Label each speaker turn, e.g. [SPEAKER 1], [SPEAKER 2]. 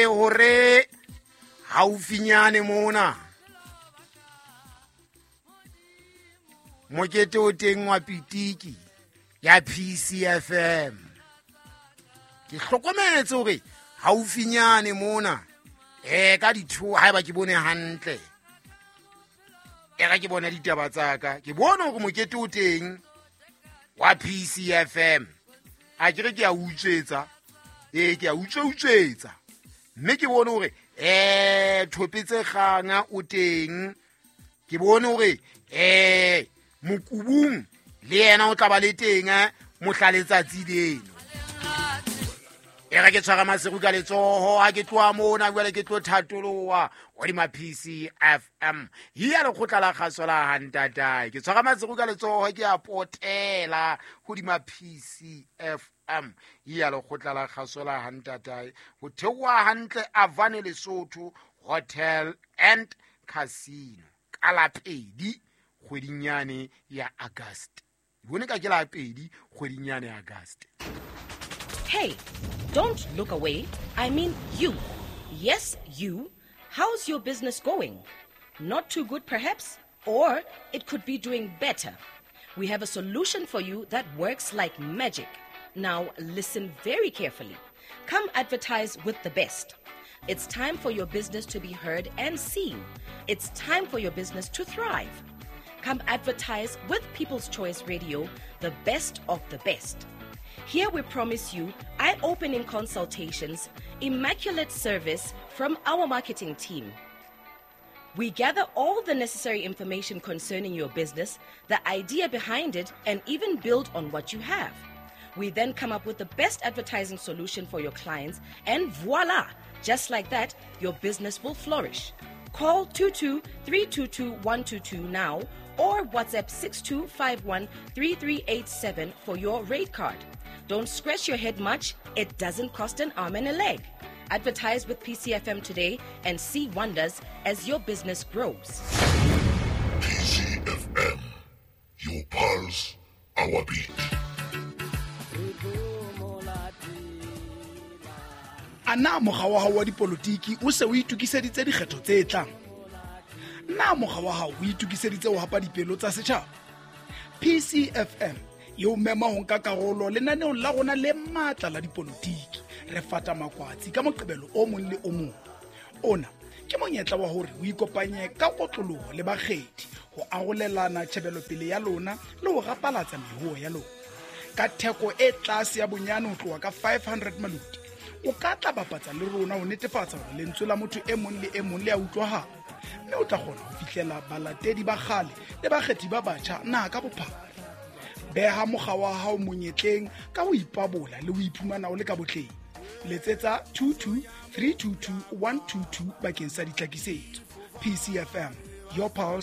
[SPEAKER 1] Hore haufinyane mona mokete o teng wa pitiki ya PCFM. Ke hlokometse hore haufinyane mona ka ditho, haeba ke bone hantle, e ga ke bona ditaba tsa ka, ke bone hore mokete o teng wa PCFM. A ke re ke a utswetsa, ee, ke a utswe-utswetsa, mme ke bone hore Thopetse Kganga o teng. Ke bone hore Mokubung le yena o tla ba le teng mohla letsatsi leno. E re ke tshwara maseru ka letsoho ha ke tloha mona, jwale ke tlo thatoloha hodima PCFM ya lekgotla la kgaso la hantatae. Ke tshwara maseru ka letsoho, ke a potela hodima PCFM ya lekgotla la kgaso la hantatae, ho theoha hantle Avane Lesotho Hotel and Casino ka la 2 kgweding yane ya August. Bone ka ke la 2 kgweding yane ya August.
[SPEAKER 2] Hey, don't look away. I mean you. Yes, you. How's your business going? Not too good, perhaps? Or it could be doing better. We have a solution for you that works like magic. Now, listen very carefully. Come advertise with the best. It's time for your business to be heard and seen. It's time for your business to thrive. Come advertise with People's Choice Radio, the best of the best. Here we promise you eye-opening consultations, immaculate service from our marketing team. We gather all the necessary information concerning your business, the idea behind it, and even build on what you have. We then come up with the best advertising solution for your clients, and voila! Just like that, your business will flourish. Call 22-322-122 now or WhatsApp 6251-3387 for your rate card. Don't scratch your head much. It doesn't cost an arm and a leg. Advertise with PCFM today and see wonders as your business grows.
[SPEAKER 3] PCFM, your pulse, our beat.
[SPEAKER 4] A na mokga wa hao wa dipolotiki o se o itokiseditse dikgetho tse tlang? Na mokga wa hao o itokiseditse ho hapa dipelo tsa setjhaba? PCFM e o mema ho nka karolo lenaneong la rona le matla la dipolotiki. Re fata makwatsi ka Moqebelo o mong le o mong. Ona ke monyetla wa hore o ikopanye ka kotloloho le bakgethi ho arolelana tjhebelopele ya lona le ho rapalatsa mehuo ya lona. Ka theko e tlase ya bonyane ho tloha ka 500 maloti, o ka tla bapatsa le rona ho netefatsa hore lentswe la motho e mong le e mong le a utlwahala, mme o tla kgona ho fihlela balatedi ba kgale le bakgethi ba batjha naha ka bophara. Beha mokga wa hao monyetleng ka ho ipabola le ho iphumana o le ka botleng. Letsetsa 22 322 122 bakeng sa ditlhakisetso. PCFM, your pulse.